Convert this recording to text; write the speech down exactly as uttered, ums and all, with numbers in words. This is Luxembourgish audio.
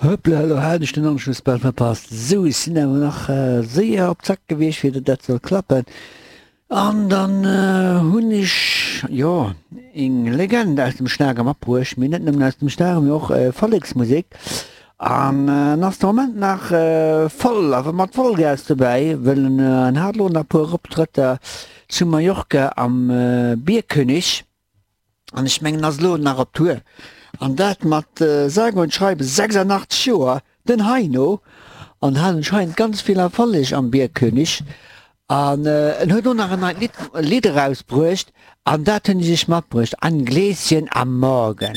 Hoppla, elo hat ech den Anschluss bal verpasst. Sou, ech sinn awer nach séier op Zack gewiescht, fir datt dat soll klappen. An dann hunn ech, jo, eng Legend aus dem Schlager matbruecht, mee net nëmmen aus dem Schlager, mee och Volleksmusek. An en ass de Moment nach voll, awer mat Vollgas dobäi, wëll en hat elo nach e puer Optrëtter zu Mallorca am Bierkönig. An ech mengen, ass elo nach op Tour. An dat mat sage und schreibe sechsundachtzeg Joer, den Heino. An hat anscheinend ganz vill Erfolleg am Bierkönig. An en huet och nach en neit Lidd, Lidd erausbruecht an dat hunn ech iech matbruecht, Ein Gläschen am Morgen.